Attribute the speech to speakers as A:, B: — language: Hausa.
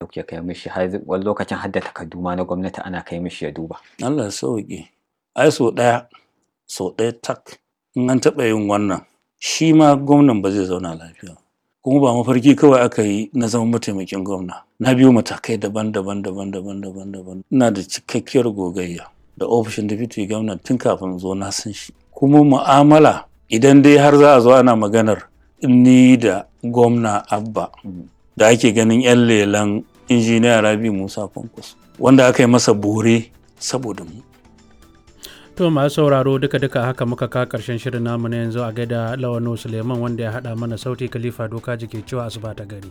A: kuke kai mishi, har wani lokacin har da takardu ma na gwamnati ana kai mishi ya duba.
B: Allah ya sauke. Ai sau ɗaya, sau ɗaya tak in an taɓa yin wannan, shi ma gwamnan ba zai zauna lafiya ba. Kuma ba mafarki kawai aka yi na zama mataimakin gwamna. Na biyo matakai daban-daban daban-daban daban-daban. Ina da cikakkiyar gogayya da ofishin deputy gwamna tun kafin zo, na san shi. Kuma mu'amala, idan dai har za a zo ana maganar ni da gwamna Abba da ake ganin 'yan lelan injiniya Rabi Musa Kwankwaso, wanda aka yi masa bore saboda mu.
C: To masu sauraro, duka-duka haka muka ka karshen shirin namu na yanzu. A gaida Lawano Suleiman wanda ya haɗa mana sauti, Khalifa Doka ke cewa asuba ta gari.